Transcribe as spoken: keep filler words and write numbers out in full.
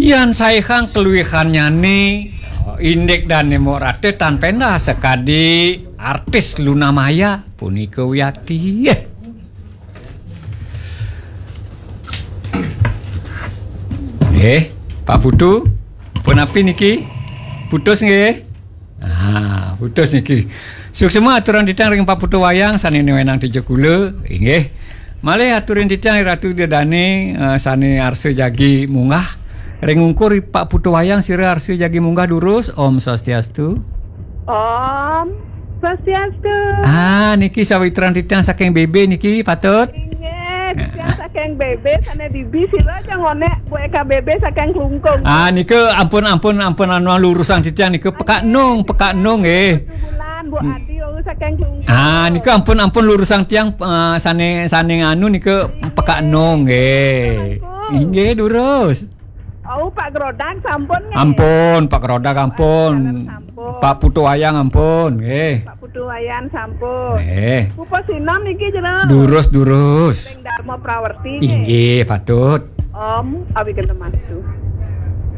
Yan saihang keluihannyane, indik dane mok rate tan pendah sakadi artis Luna Maya punika wiakti. Nggih, Pak Putu, punapi niki? Putus nggih? Ah, putus niki. Suksma aturang titiang ring Pak Putu Wayang sane wenang tija kula, inggih. Malih aturin titiang ring Ratu Ida Dane, eh, sane arsa jagi munggah. Ring ungkur Pak Putu Wayang sira arsa jagi munggah durus. Om Swastiastu. Om Swastiastu. Ah, niki sawitran titiang saking B B niki patut. Inggih, titiang saking B B sane bibi sira aja ngonek Bu Eka B B saking Klungkung. Ah, nika ampun, ampun, ampun, anu, lurusang titiang nika Pekak Nung, Pekak Nung nggih. Bulan, Bu Adi, oh, saking Klungkung. Ah, nika ampun, ampun, lurusang tiang, eh, sane, sane anu nika Pekak Nung nggih. Inggih, durus. Oh, Pak Grodak sampun nggih? Ampun, Pak Grodak ampun. Sampun. Pak Putu Wayang ampun nggih. Pak Putu Wayang sampun. Nggih. Pupo Sinom niki jero. Durus, durus. Ring Dharma Prawerti nggih. Inggih, patut. Om Awigendemastu.